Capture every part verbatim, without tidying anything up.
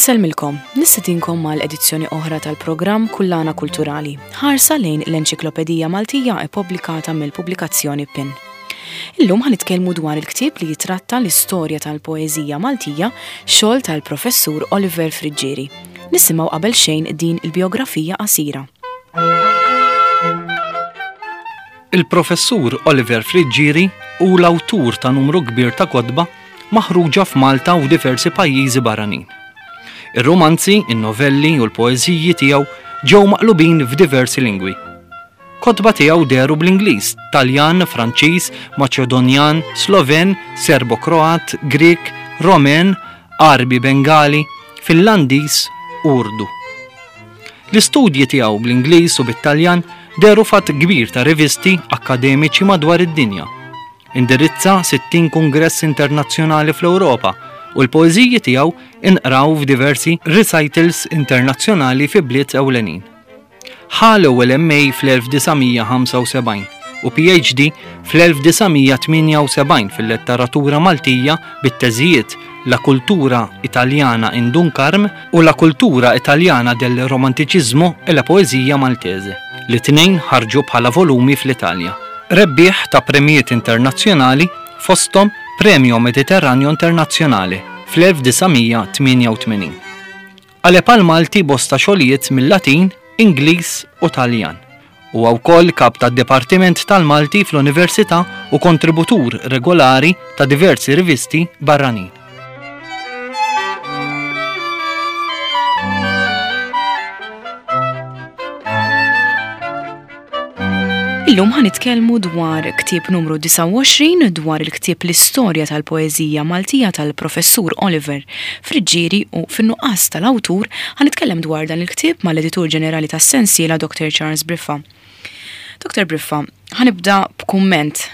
Insellmilkom, nistedinkom mal-edizzjoni oħra tal-programm Kullana Kulturali, ħarsa lejn l-Enċiklopedija Maltija ippubblikata mill-pubblikazzjoni PIN. Illum ħa nitkellmu dwar il-ktieb li jitratta l-istorja tal-poeżija Maltija, xogħol tal-professur Oliver Friggieri. Nisimgħu qabel xejn din il-biografija qasira. Il-professur Oliver Friggieri hu l-awtur ta' numru kbir ta' kotba maħruġa f'Malta u diversi pajjiżi barranin. Ir-romanzi, in-novelli u l-poeżiji tiegħu ġew maqlubin f'diversi lingwi. Kotba tiegħu dehru bl-Ingliż, Taljan, Franċiż, Maċedonjan, Sloven, Serbo-Kroat, Grek, Romen, Għarbi Bengali, Finlandiż u Urdu. L-istudji tiegħu bl-Ingliż u bit-Taljan dehru f'għadd kbir ta' rivisti akkademiċi madwar id-dinja. Indirizza sittin kongress internazzjonali fl-Ewropa u l-poeżiji tiegħu inqraw f'diversi recitals internazzjonali fi bliet ewlenin. Ħa l-ewwel M A fl-elf disa' mija ħamsa u sebgħin u P H D fl-elf disa' mija tmienja u sebgħin fil-letteratura Maltija bit-teżijiet La Cultura Italiana in Dun Karm u La Cultura Italiana del Romanticismo e la Poesia Maltese, li tnejn ħarġu bħala volumi fl-Italja. Rebbieħ ta' premijiet internazzjonali fosthom Premio Mediterraneo Internazzjonale fl-elf disa' mija tmienja u tmenin. Qaleb għal Malti bosta xogħlijiet mill-Latin, Ingliż u Taljan. Huwa wkoll kap tad-Dipartiment tal-Malti fl-Università u kontributur regolari ta' diversi rivisti barranin. Illum ħa nitkellmu dwar ktieb numru disgħa u għoxrin dwar il-ktieb L-Istorja tal-Poeżija Maltija tal-Professur Oliver Friggieri u fin-nuqqas tal-awtur ħa nitkellem dwar dan il-ktieb mal-Editur Ġenerali tas-Sensiela Doctor Charles Briffa. Doctor Briffa, ħa nibda b'kumment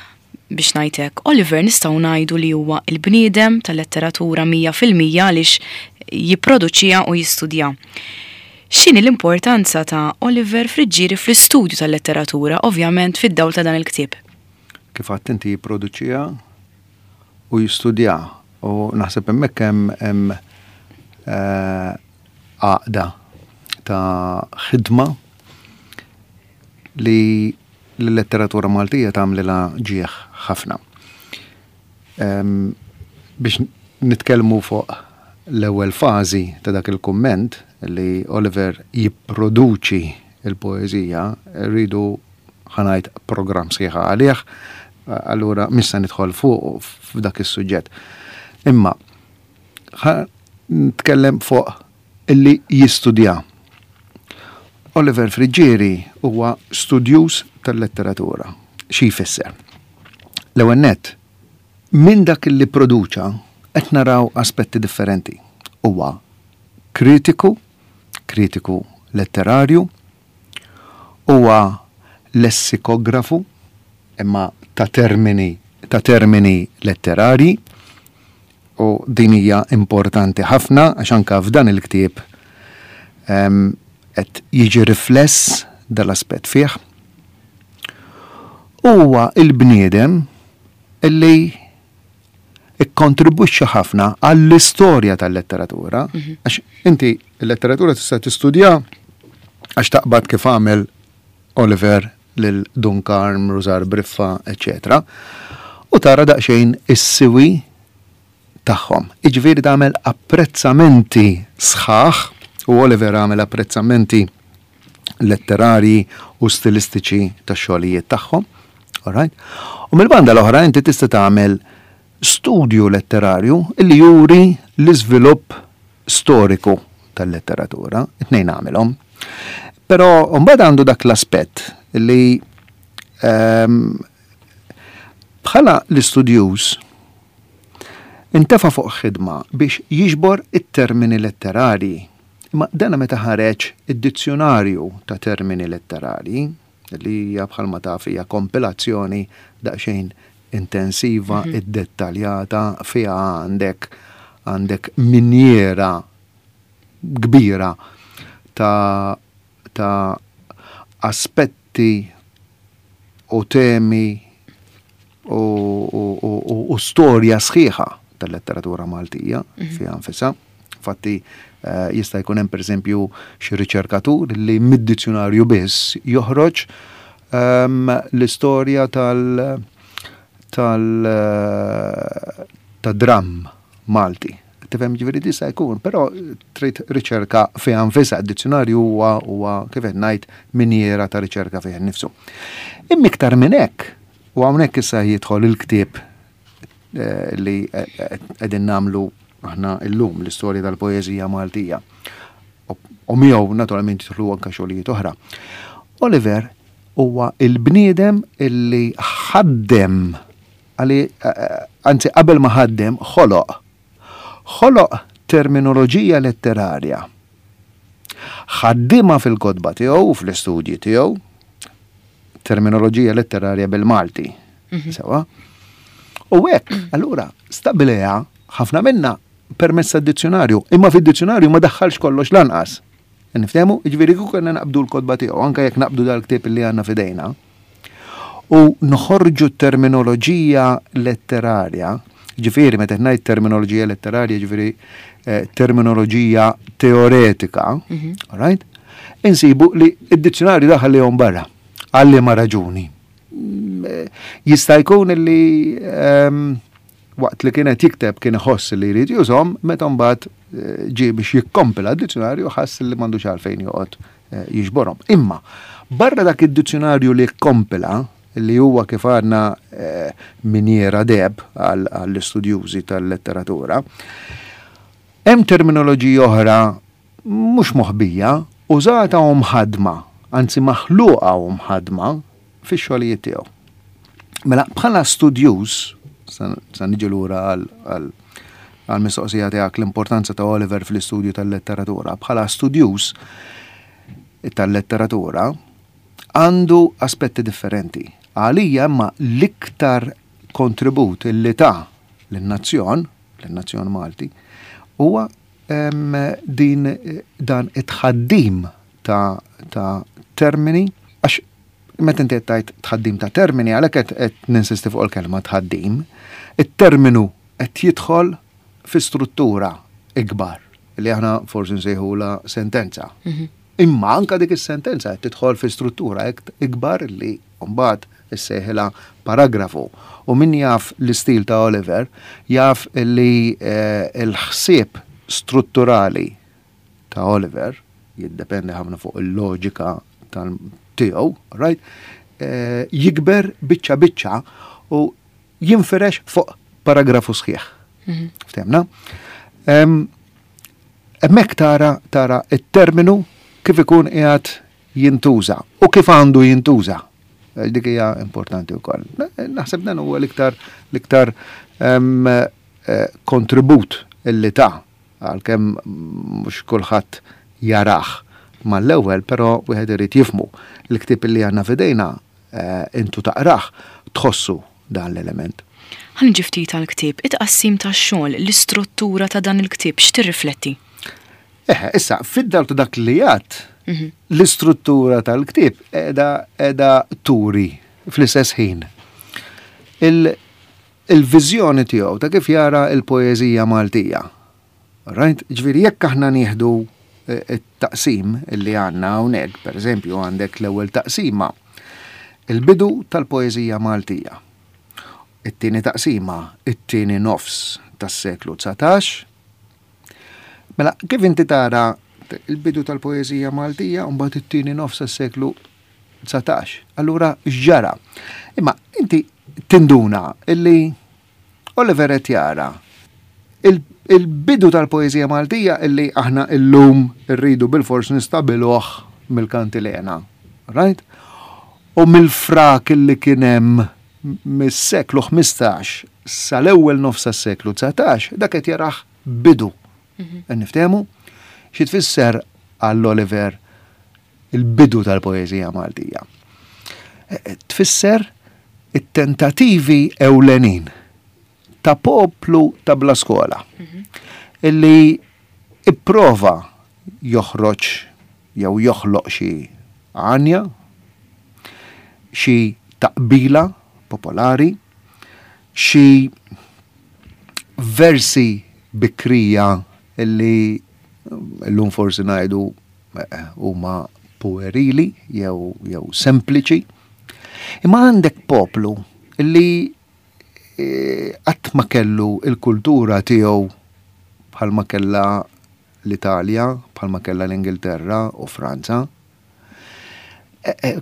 biex ngħid hekk. Oliver nistgħu ngħidu li huwa l-bniedem tal-letteratura mija fil-mija għaliex jipproduċiha u jistudja. X'inhi l-importanza ta' Oliver Friggieri fl-istudju tal-letteratura, ovvjament fid-dawl ta' dan il-ktieb? Kif għedt inti jipproduċiha u jistudja, u naħseb hemmhekk hemm, hemm, eh, għaqda ta' ħidma li l-letteratura Maltija tagħmlilha ġieħ ħafna. Em, biex nitkellmu fuq l-ewwel fażi ta' dak il-kumment li Oliver jipproduċi il-poeżija, rridu ħanajt programm sħiħa għalih, allura mhux se nidħol fuq f'dak is-suġġett. Imma ħa nitkellem fuq illi jistudja. Oliver Friggieri huwa studjuż tal-letteratura. Xi jfisser? L-ewwel nett, minn dak li produċa qed naraw aspetti differenti. Huwa kritiku, kritiku letterarju, huwa lessikografu, imma ta' termini, ta' termini letterari, u din hija importanti ħafna għax anke f'dan il-ktieb, ehm, qed jiġi rifless dal-aspett fih. Huwa il-bniedem illi ikkontribwixxa ħafna għall-istorja tal-letteratura, Mhm. għax inti l-letteratura tista' tistudja għax taqbad kif għamel Oliver lil Dun Karm, Rużar Briffa, eċċetera, u tara daqsxejn is-siwi tagħhom. Jiġifieri tagħmel apprezzamenti sħaħ, u Oliver għamel apprezzamenti letterari u stilistiċi tax-xogħlijiet tagħhom. All right? U mill-banda l-oħra inti tista' tagħmel studju letterarju illi juri l-iżvilupp storiku tal-letteratura, it-tnejn għamilhom. Però mbagħad għandu dak l-aspett li, ehm, bħala l-istudjuż intefa' fuq ħidma biex jiġbor it-termini letterari. Imma dana meta ħareġ id-dizzjonarju ta' termini letterari, li hija bħalma taf hija kompilazzjoni daqsxejn intensiva, Mhm. iddettaljata, fiha għandek, għandek minjera kbira ta', ta' aspetti u temi u, u, u, u, u storja sħiħa tal-letteratura Maltija Mhm. fiha nfisha. Infatti, Eh, jista' jkun hemm pereżempju xi riċerkatur li mid-dizzjonarju biss joħroġ ehm, l-istorja tal tal eh, ta' dramm Malti. Tifhem, ġifieri tista' jkun, però trid riċerka fiha nfisha, d-dizzjonarju huwa huwa kif qed ngħid minjera ta' riċerka fih innifsu. Imma iktar minn hekk, u hawnhekk issa jidħol il-ktieb eh, li qegħdin nagħmlu aħna illum, l-istorja tal-poeżija Maltija. U miegħu naturalment jidħlu anke xogħlijiet oħra. Oliver huwa il-bniedem illi ħaddem, għali, anzi qabel ma ħaddem, ħoloq. Ħoloq terminoloġija letterarja. Ħaddimha fil-kotba tiegħu u fl-istudji tiegħu, terminoloġija letterarja bil-Malti. Mhm. Sewa? U hekk, allura, stabbilieha ħafna minna permezz tad-dizzjonarju, imma fid-dizzjonarju ma daħħalx kollox lanqas. Niftehmu, ġifieri kieku kellna naqbdu l-kotba tiegħu, anke jekk naqbdu dal-ktieb li għandna f'idejna, u noħorġu terminoloġija letterarja, ġifieri meta ngħid terminoloġija letterarja, ġifieri eh, terminoloġija teoretika, mhm. right? Insibu li id-dizzjonarju daħal li barra, għal liema raġuni. Mm, eh, jista' jkun li ehm, waqt li kienet jikteb kien iħoss li jrid jużhom, meta mbagħad eh, ġie biex jikkompila d-dizzjonarju ħass li m'għandux għalfejn joqgħod eh, jiġborhom. Imma barra dak id-dizzjonarju li kkompila, li huwa kif għadna eh, minjera deheb għall-istudjużi tal-letteratura, hemm terminoloġija oħra mhux moħbija, użata u mħadma, anzi maħluqa u mħadma fix-xogħlijiet tiegħu. Mela bħala studjuż, sa niġi lura għal mistoqsija tiegħek, l-importanza ta' Oliver fl-istudju tal-letteratura. Bħala studjuż tal-letteratura għandu aspetti differenti. Għalija imma l-iktar kontribut illi ta l-nazzjon, l-nazzjon Malti, huwa din dan it-tħaddim ta', ta termini, għax meta inti qed tgħid tħaddim ta' termini, għalhekk qed ninsisti fuq il-kelma tħaddim, it-terminu qed jidħol fi struttura ikbar li aħna forsi nsejħula sentenza. Mhm. Imma anka dik is-sentenza qed tidħol fi struttura ikbar li mbagħad issejħilha paragrafu. U min jaf l-istil ta' Oliver jaf li eh, l-ħsieb strutturali ta' Oliver jiddependi ħafna fuq il-loġika tiegħu, right? Eh, jikber biċċa biċċa u jinfirex fuq paragrafu sħiħ. Mhm. Ftehmna? Hemmhekk tara tara it-terminu kif ikun qiegħed jintuża u kif għandu jintuża. Dik hija importanti wkoll. Naħseb dan huwa l-iktar l-iktar eh, kontribut illi ta' għalkemm mhux kulħadd jarah mal-ewwel, però wieħed irid jifhmu. L-ktieb li għandna f'idejna eh, intu taqrah tħossu dan l-element. Ħa niġi ftit għal-ktieb, it-tqassim tax-xogħol, l-istruttura ta' dan il-ktieb x'tirrifletti? Eh, issa, fid-dawl ta' dak li għedt, mhm. l-istruttura tal-ktieb qiegħda qiegħda turi fl-istess ħin il-viżjoni tiegħu ta' kif jara il-poeżija Maltija. Right? Ġifieri jekk aħna nieħdu eh, it-taqsim illi għandna hawnhekk, per eżempju għandek l-ewwel taqsima, il-bidu tal-poeżija Maltija. It-tieni taqsima, it-tieni nofs tas-seklu dsatax. Mela, kif inti tara il-bidu tal-poeżija Maltija u mbagħad it-tieni nofs tas-seklu dsatax. Allura x'ġara? Imma inti tinduna illi Oliver qed jara il-bidu tal-poeżija Maltija illi aħna illum irridu bil-fors nistabbiluh mill-kantilena. Right? U mill-frak illi kien hemm mis-seklu ħmistax sal-ewwel nofs tas-seklu dsatax, dak qed jarah bidu. Mhm. Niftehmu? Xi tfisser għall Oliver il-bidu tal-poeżija Maltija? E, e, tfisser it-tentativi ewlenin ta' poplu ta' bla skola mhm. illi ipprova joħroġ jew joħloq xi għanja, xi taqbila popolari, xi versi bikrija illi Illum forsi ngħidu huma puerili jew jew sempliċi. Imma għandek poplu li qatt ma kellu il-kultura tiegħu bħalma kellha l-Italja, bħalma kellha l-Ingilterra u Franza.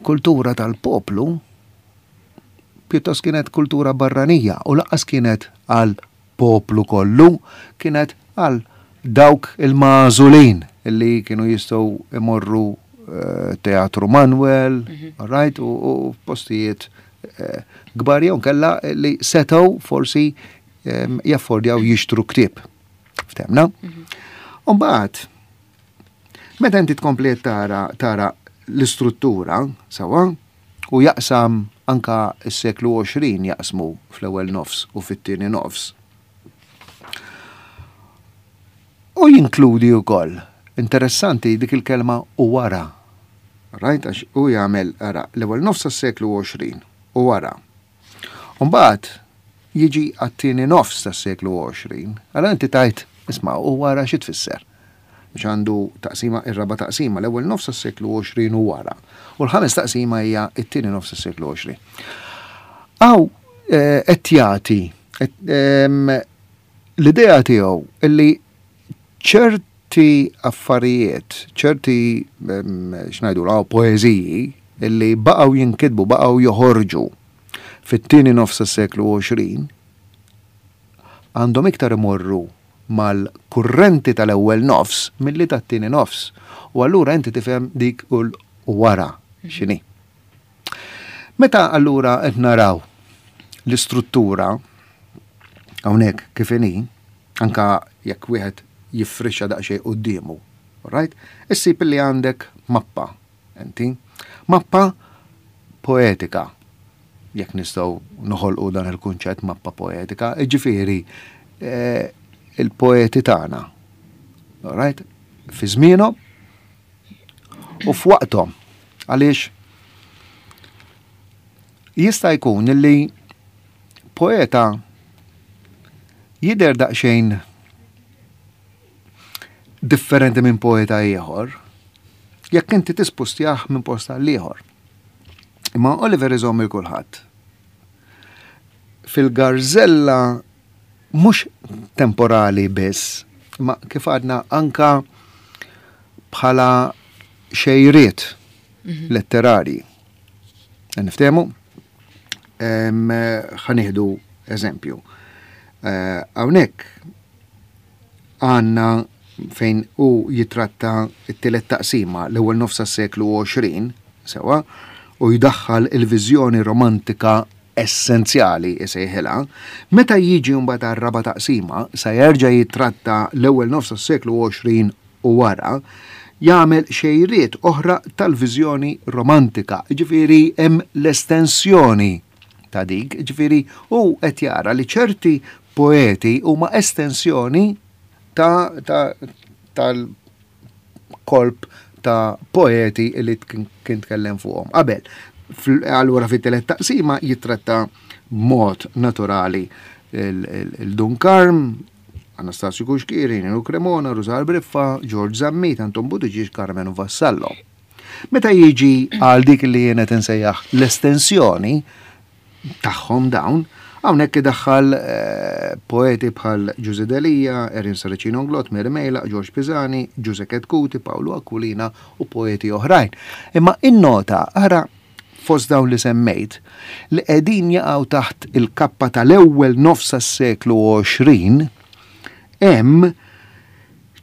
Kultura tal-poplu pjuttost kienet kultura barranija u lanqas kienet għal poplu kollu, kienet għal dawk il-magħżulin illi kienu jistgħu imorru Teatru Manuel, right, u postijiet kbar jew kella li setgħu forsi jaffordjaw jixtru ktieb. Ftemna? U mbagħad, meta inti tkompli tara tara l-istruttura sewwa, u jaqsam anka s-seklu għoxrin jaqsmu fl-ewwel nofs u fit-tieni nofs. U jinkludi wkoll, interessanti dik il-kelma u wara. Right, għax u jagħmel ara l-ewwel nofs tas-seklu għoxrin u wara. U mbagħad jiġi għat-tieni nofs tas-seklu għoxrin. Allora inti tajt, isma' u wara xi tfisser? Biex għandu taqsima, ir-raba' taqsima, l-ewwel nofs tas-seklu għoxrin u wara. U l-ħames taqsima hija t-tieni nofs tas-seklu għoxrin. Aw qed jagħti l-idea tiegħu illi ċerti affarijiet, ċerti x'ngħidu hawn poeżiji illi baqgħu jinkitbu, baqgħu joħorġu fit-tieni nofs tas-seklu għoxrin għandhom iktar imorru mal-kurrenti tal-ewwel nofs milli tat-tieni nofs. U allura inti tifhem dik u wara x'inhi. Meta allura qed naraw l-istruttura hawnhekk kif inhi, anka jekk wieħed jiffrixxa daqsxejn quddiemu, right? Issib li għandek mappa, inti, mappa poetika, jekk nistgħu noħolqu dan il-kunċett mappa poetika, jiġifieri il-poeti tagħna, right? Fi żmienhom u f'waqthom, għaliex jista' jkun li poeta jidher daqsxejn differenti minn poeta ieħor, jekk inti tispustjah minn post għal ieħor. Imma Oliver iżomm il kulħadd. Fil-garzella mhux temporali biss, ma kif għadna anka bħala xejriet letterarji. Niftehmu? Ħa nieħdu eżempju. Hawnhekk għandna fejn u jitratta t-tielet taqsima l-ewwel nofs tas-seklu għoxrin, sewwa, u jdaħħal il-viżjoni romantika essenzjali isejħilha, meta jiġi mbagħad għar-raba' taqsima sa jerġa' jitratta l-ewwel nofs tas-seklu għoxrin u wara, jagħmel xejriet oħra tal-viżjoni romantika, jiġifieri hemm l-estensjoni ta' dik, jiġifieri hu qed jara li ċerti poeti huma estensjoni ta' tal-kolp ta' poeti li kien tkellem fuqhom qabel. Allura fit-tielet taqsima jitratta b'mod naturali il-Dun Karm, Anastasio Cuschieri, Nino Cremona, Rusar Briffa, George Zammit, Anton Buttigieg, Karmenu Vassallo. Meta jiġi għal dik li jien qed insejjaħ l-estensjoni tagħhom dawn, hawnhekk idaħħal poeti bħal Ġużè Delia, Erin Saracino Inglott, Mary Mejlaq, George Pisani, Ġużè Chetcuti, Paolo Aquilina u poeti oħrajn. Imma innota, ara fost dawn li semmejt, li qegħdin jaqgħu taħt il-kappa tal-ewwel nofs tas-seklu għoxrin, hemm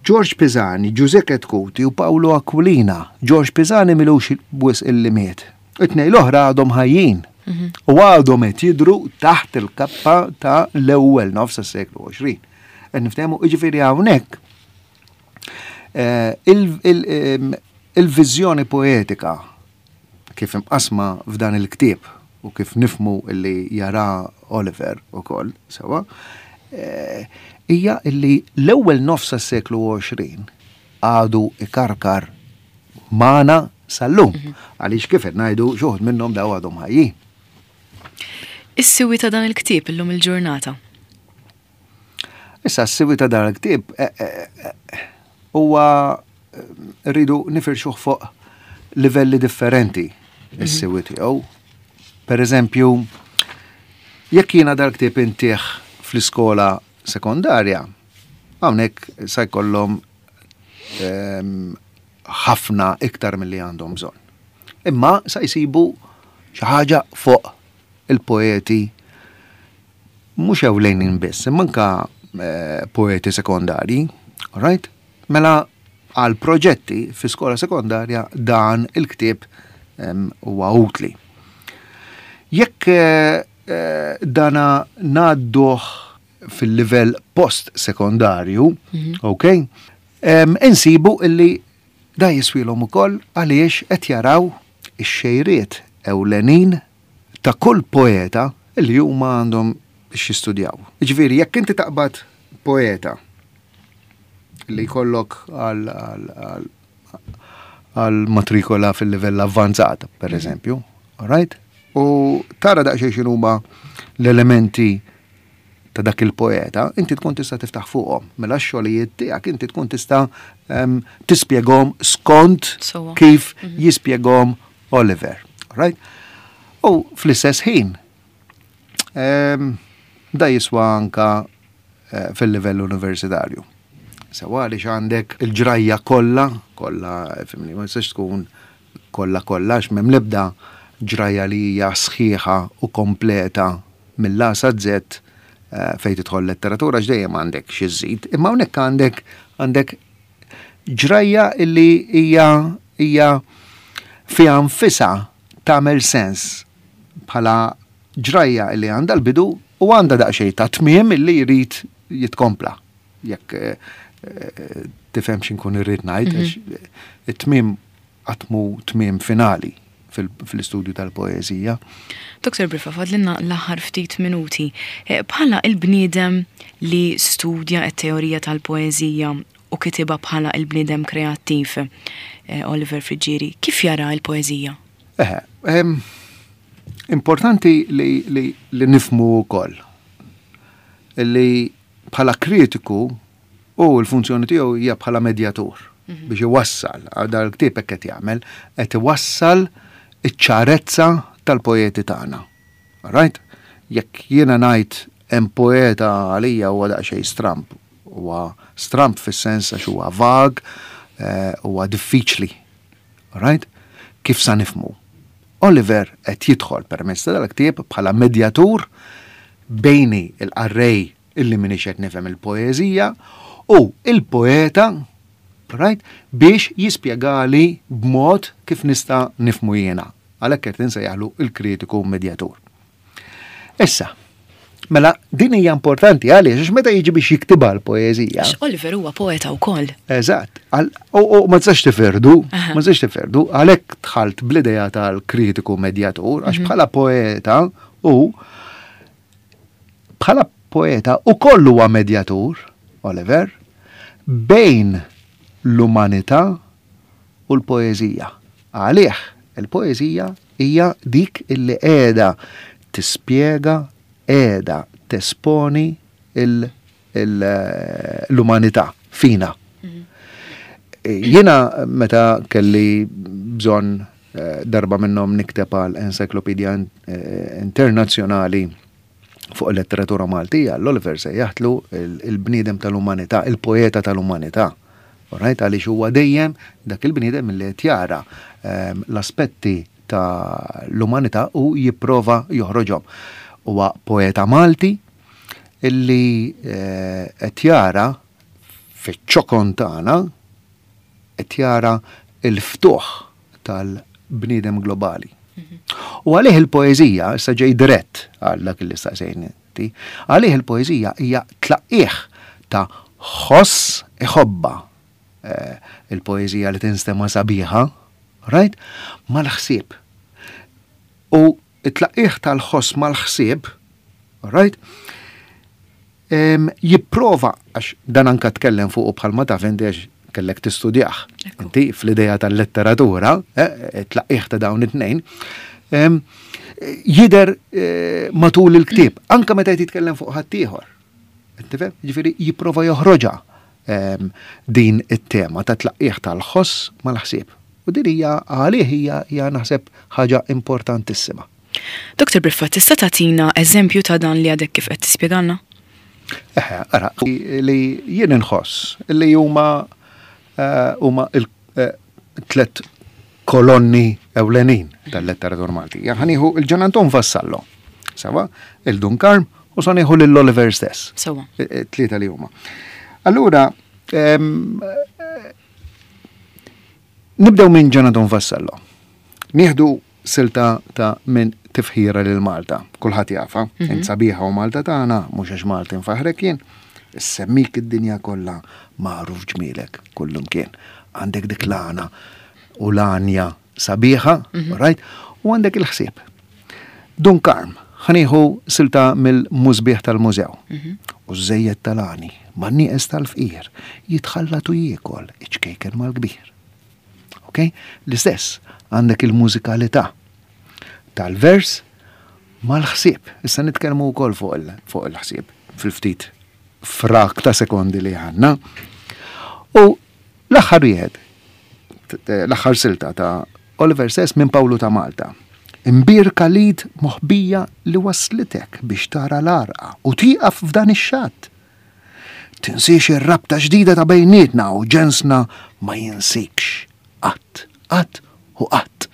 George Pisani, Ġużè Chetcuti u Paolo Aquilina. George Pisani milux wisq illi miet. It-tnejn l-oħra għadhom ħajjin. U għadhom qed jidhru taħt il-kappa ta' l-ewwel nofs tas-seklu għoxrin. Qed niftehmu, jiġifieri hawnhekk il-viżjoni poetika kif imqasma f'dan il-ktieb u kif nifmu li jara Oliver ukoll sewwa, hija illi l-ewwel nofs tas-seklu għoxrin għadu ikarkar magħna sal-lum. Għaliex kif qed ngħidu xi wħud minnhom daw għadhom ħajjin. Is-siwi ta' dan il-ktieb illum il-ġurnata. Issa s-siwi ta' dan il-ktieb huwa eh, rridu nifirxuh fuq livelli differenti is-siwi tiegħu. Per eżempju, jekk jiena dal-ktieb intih fl-iskola sekondarja, hawnhekk sa jkollhom ehm, ħafna iktar milli għandhom bżonn. Imma sa jsibu xi ħaġa fuq il-poeti mhux ewlenin biss, imma anka eh, poeti sekondarji, right? Mela għal proġetti fi skola sekondarja dan il-ktieb em, huwa utli. Jekk eh, eh, dana ngħadduh fil-livell post-sekondarju, ok, em, insibu illi da jiswilhom ukoll għaliex qed jaraw ix-xejriet ewlenin ta' kull poeta illi huma għandhom biex jistudjaw. Ġifieri, jekk inti taqbad poeta li jkollok għal għal- għal għal matrikola fil-livell avvanzat, per eżempju, right? U tara daqsxejn x'inhuma l-elementi ta' dak il-poeta, inti tkun tista' tiftaħ fuqhom. Mela x-xogħlijiet tiegħek inti tkun tista' em, tispjegahom skont Sewwa. kif jispjegahom Oliver. Right? U fl-istess ħin, em, da jiswa anka eh, fil-livell universitarju. Sewa għaliex għandek il-ġrajja kollha, kollha, fimni, ma tistax tkun kollha kollha, għax m'hemm l-ebda ġrajja li hija sħiħa u kompleta mill-A sa Z eh, fejn tidħol letteratura x'dejjem għandek xi żżid, imma hawnhekk għandek għandek ġrajja illi hija hija fiha nfisha tagħmel sens bħala ġrajja illi għandha l-bidu u għandha daqsxejn ta' tmiem illi jrid jitkompla. Jekk eh, eh, tifhem x'inkun irrid ngħid, għax it-tmiem qatt mhu tmiem finali fil- fil-istudju tal-poeżija. Doktor Briffa, fadlilna l-aħħar ftit minuti. Eh, Bħala il-bniedem li studja t-teorija tal-poeżija u kitibha bħala il-bniedem kreattiv, eh, Oliver Friggieri, kif jara il-poeżija? Eħe, em, importanti li, li, li nifhmu wkoll li bħala kritiku u l-funzjoni tiegħu hija bħala medjatur biex iwassal, għal dal-ktieb hekk qed jagħmel, qed iwassal iċ-ċarezza tal-poeti tagħna. Right? Jekk jiena ngħid hemm poeta għalija huwa daqsxejn stramp, huwa stramp fis-sens għax huwa vag, eh, huwa diffiċli. Right? Kif sa nifhmu? Oliver qed jidħol permezz ta' dal-ktieb bħala medjatur bejni il-qarrej illi minix qed nifhem il-poeżija u il-poeta right, biex jispjegali b'mod kif nista' nifhmu jiena. Għalhekk qed insejjaħlu il-kritiku medjatur. Issa, mela din hija importanti għaliex għax meta jiġi biex jiktibha l-poeżija. Għax Oliver huwa poeta wkoll. Eżatt. Għal- U u ma tistax tifirdu, Aha. ma tistax tifirdu, għalhekk dħalt bl-idea tal-kritiku medjatur, għax bħala poeta u bħala poeta u kollu huwa medjatur, Oliver, bejn l-umanità u l-poeżija. Għalih, il-poeżija hija dik illi qiegħda tispjega, qiegħda tesponi il- il- l-umanità fina. Jiena meta kelli bżonn eh, darba minnhom nikteb għal encyclopedia eh, internazzjonali fuq il-letteratura Maltija, l-Oliver sejjaħtlu il-bniedem tal-umanità, il-poeta tal-umanità. Alright, għaliex huwa dejjem dak il-bniedem li qed jara ehm, l-aspetti ta' l-umanità u jipprova joħroġhom. Huwa poeta Malti illi eh, qed jara fiċ-ċokon tagħna qed jara il-ftuħ tal-bniedem globali. U għalih il-poeżija, issa ġej dirett għal dak li staqsejni inti, għalih il-poeżija hija tlaqqih ta' ħoss iħobba eh, il-poeżija li tinstema sabiħa, right? Mal-ħsieb. U it-tlaqqih tal-ħoss mal-ħsieb, right? Em, jipprova, għax dan anka tkellem fuq bħalma taf inti għax kellek tistudjah. Ekku. Inti fl-ideja tal-letteratura, eh, tlaqqih ta' dawn it-tnejn, em, jidher eh, matul il-ktieb, anka meta jitkellem fuq ħaddieħor. Tifhem? Ġifieri jipprova joħroġha ehm, din it-tema ta' tlaqqieħ tal-ħoss mal-ħsieb. U din hija għalih hija hija naħseb ħaġa importantissima. Doktor Briffa, tista' tagħtina eżempju ta' dan li għadek kif qed tispjegalna? Eħe, ara, li jien inħoss li huma eh, huma il-tlet kolonni ewlenin tal-letteratura Maltija. Ħa nieħu 'l Ġan Anton Vassallo, sewwa, 'il Dun Karm u sa nieħu lil Oliver stess. Sewwa. E, e, tlieta li huma. Allura, ehm, eh, nibdew minn Ġan Anton Vassallo. Nieħdu silta ta' minn Tifħira lil Malta. Kulħadd jafha, int sabiħa o Malta tagħna, mhux għax Malti nfaħrek jien. Issemmik id-dinja kollha magħruf ġmielek kullumkien. Għandek dik l-għana u l-għanja sabiħa, right? U għandek il-ħsieb. Dun Karm, ħa nieħu silta mill-Musbieħ tal-Mużew. U żejjed tal-għani, man-nieqes tal-fqir, jitħallat u jiekol iċ-ċkejken mal-kbir. Ok? L-istess, għandek il-mużikalità tal-vers mal-ħsieb. Issa nitkellmu wkoll fuq il- fuq il-ħsieb fil-ftit frak ta' sekondi li għandna. U l-aħħar wieħed, t- l-aħħar silta ta' Oliver stess minn Pawlu ta' Malta. Imbierka l-id moħbija li waslitek biex tara l-għarqa u tieqaf f'dan ix-xatt. Tinsiex ir-rabta ġdida ta' bejnietna u ġensna ma jinsikx. Qatt, qatt u qatt.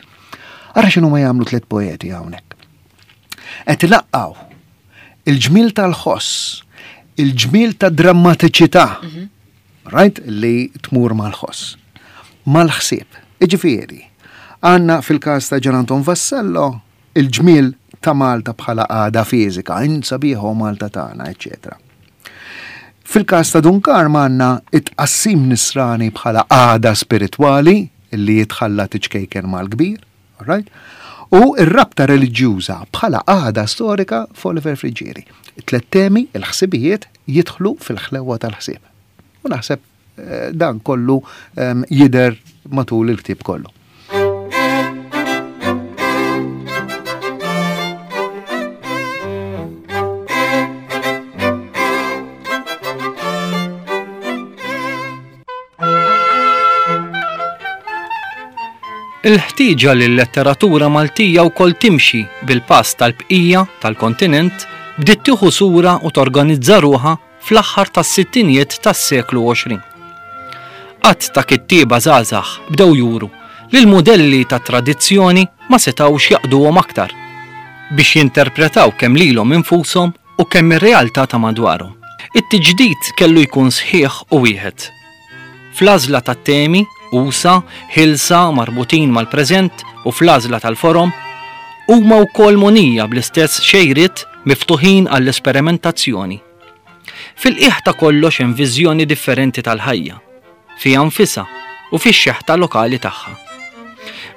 Ara x'inhu ma jagħmlu tliet poeti hawnhekk. Qed ilaqqgħu il-ġmiel tal-ħoss, il-ġmiel ta' drammatiċità, right, li tmur mal-ħoss, mal-ħsieb. Iġifieri, għandna fil-każ ta' Ġan Anton Vassallo il-ġmiel ta' Malta bħala għada fiżika, int sabiħa o Malta tagħna, eċċetera. Fil-każ ta' Dun Karm għandna it-tqassim nisrani bħala għada spiritwali li jitħallat iċ-ċkejken mal-kbir, right? U ir-rabta reliġjuża bħala għada storika f'Oliver Friggieri. Tlet temi, il-ħsibijiet, jidħlu fil-ħlewa tal-ħsieb. U naħseb eh, dan kollu em, jidher matul il-ktieb kollu. Il-ħtieġa li l-letteratura Maltija wkoll timxi bil-pass tal-bqija tal-kontinent bdiet tieħu sura u torganizza ruħha fl-aħħar tas-sittinijiet tas-seklu għoxrin. Qatt ta' kittieba żgħażagħ bdew juru li l-mudelli ta' tradizzjoni ma setgħux jaqduhom aktar biex jinterpretaw kemm lilhom infushom u kemm ir-realtà ta' madwarhom. It-tiġdid kellu jkun sħiħ u wieħed. Fl-għażla tat-temi, usa, ħilsa, marbutin mal-preżent u fl-għażla tal-forom, huma wkoll monija bl-istess xejriet miftuħin għall-esperimentazzjoni. Fil-qiegħ ta' kollox hemm viżjoni differenti tal-ħajja, fiha nfisha u fix-xeħta lokali tagħha.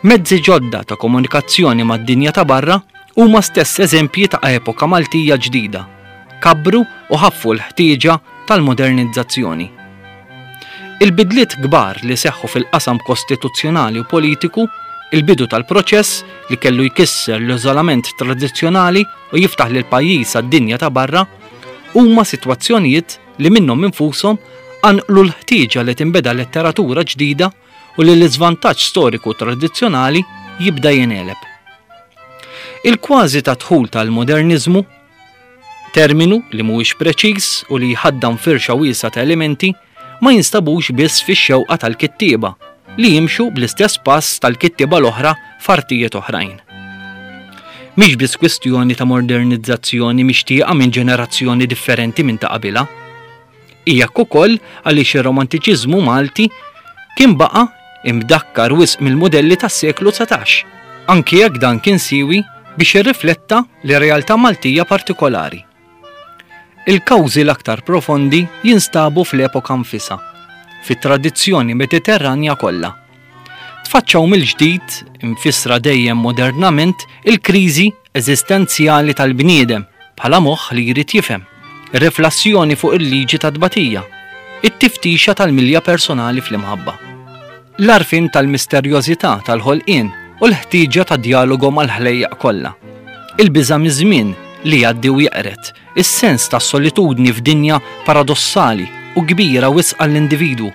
Mezzi ġodda ta' komunikazzjoni mad-dinja ta' barra huma stess eżempji ta' epoka Maltija ġdida, kabru u ħaffu l-ħtieġa tal-modernizzazzjoni. Il-bidliet kbar li seħħu fil-qasam kostituzzjonali u politiku, il-bidu tal-proċess li kellu jkisser l-iżolament tradizzjonali u jiftaħ lil pajjiż għad-dinja ta' barra, huma sitwazzjonijiet li minnhom infushom qanqlu l-ħtieġa li tinbeda letteratura ġdida u li l-iżvantaġġ storiku tradizzjonali jibda jingħeleb. Il-kważi ta' dħul tal-modernizmu, terminu li mhuwiex preċiż u li jħaddam firxa wiesgħa ta' elementi, ma jinstabux biss fix-xewqa tal-kittieba li jimxu bl-istess pass tal-kittieba l-oħra f'artijiet oħrajn. Mhix biss kwistjoni ta' modernizzazzjoni mixtieqa minn ġenerazzjoni differenti minn ta' qabilha. Hija ukoll għaliex ir-romantiċiżmu Malti kien baqa' imdakkar wisq mill-mudelli tas-seklu dsatax, anki jekk dan kien siwi biex irrifletta l-realtà Maltija partikolari. Il-kawżi l-aktar profondi jinstabu fl-epoka nfisha, fit-tradizzjoni mediterranja kollha. Tfaċċaw mill-ġdid, infissra dejjem modernament, il-kriżi eżistenzjali tal-bniedem bħala moħħ li jrid jifhem, riflessjoni fuq il-liġi ta' tbatija, it-tiftixa tal-milja personali fl-imħabba. L-arfin tal-misterjożità tal-ħolqien u l-ħtieġa ta' dialogu mal-ħlejjaq kollha. Il-biża' miż-żmien li jgħaddi u jeqred, is-sens ta' solitudni f'dinja paradossali u kbira wisq għall-individwu,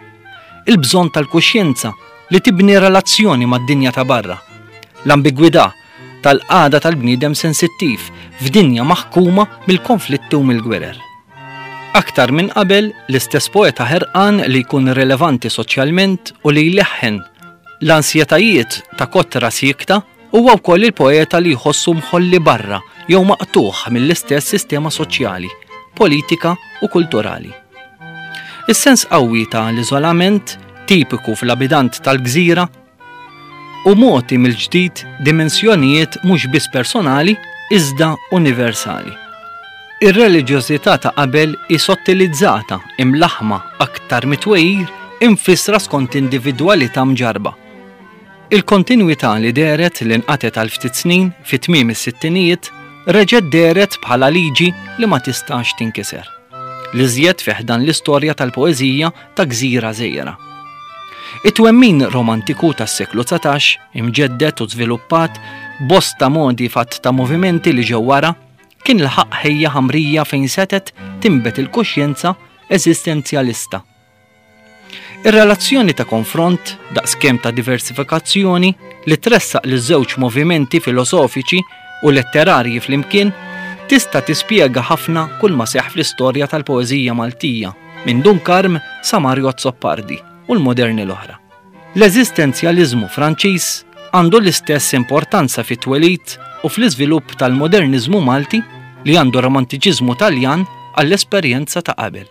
il-bżonn tal-kuxjenza li tibni relazzjoni mad-dinja ta' barra, l-ambigwità tal-qagħda tal-bniedem sensittiv f'dinja maħkuma mill-konflitti u mill-gwerer. Aktar minn qabel, l-istess poeta ħerqan li jkun rilevanti soċjalment u li jleħħen l-ansjetajiet ta' kotra siekta huwa wkoll il-poeta li jħossu mħolli barra jew maqtugħ mill-istess sistema soċjali, politika u kulturali. Is-sens qawwi ta' l-iżolament tipiku fl-abitant tal-gżira u mogħti mill-ġdid dimensjonijiet mhux biss personali iżda universali. Ir-reliġjożità ta' qabel hi sottilizzata, imlaħma aktar mitwejjir, imfissra skont individwalità mġarrba. Il-kontinwità li dehret li nqatgħet għal ftit snin fi tmiem is-sittinijiet reġgħet dehret bħala liġi li ma tistax tinkiser. L-iżjed fi ħdan l-istorja tal-poeżija ta' gżira żgħira. It-twemmin romantiku tas-seklu dsatax, imġedded u żviluppat bosta modi fatt ta' movimenti li ġew wara, kien laħaq ħejja ħamrija fejn setgħet tinbet il-kuxjenza eżistenzjalista. Ir-relazzjoni ta' konfront, daqskemm ta' diversifikazzjoni, li tressaq liż-żewġ movimenti filosofiċi u letterarji flimkien, tista' tispjega ħafna kull ma seħħ fl-istorja tal-poeżija Maltija, minn Dun Karm sa Mario Azzopardi u l-moderni l-oħra. L-eżistenzjaliżmu Franċiż għandu l-istess importanza fit-twelid u fl-iżvilupp tal-moderniżmu Malti li għandu romantiċiżmu Taljan għall-esperjenza ta' qabel.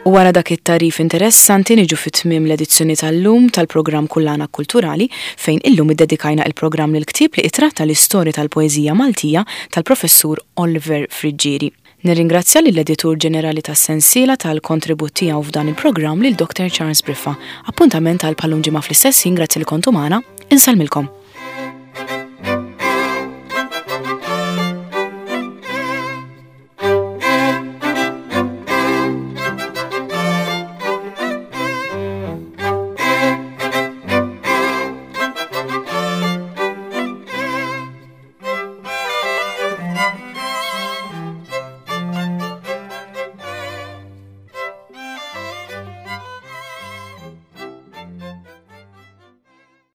U wara dak it-tagħrif interessanti niġu fi tmiem l-edizzjoni tal-lum tal-programm Kullana Kulturali fejn illum iddedikajna il-programm lil ktieb li itratta l-istorja tal-poeżija Maltija tal-professur Oliver Friggieri. Nirringrazzja lill-editur ġenerali tas-sensiela tal-kontribut tiegħu f'dan il-programm lil Doctor Charles Briffa. Appuntament għal bħal-lum ġimgħa fl-istess ħin, grazzi li kontu magħna, insellmilkom.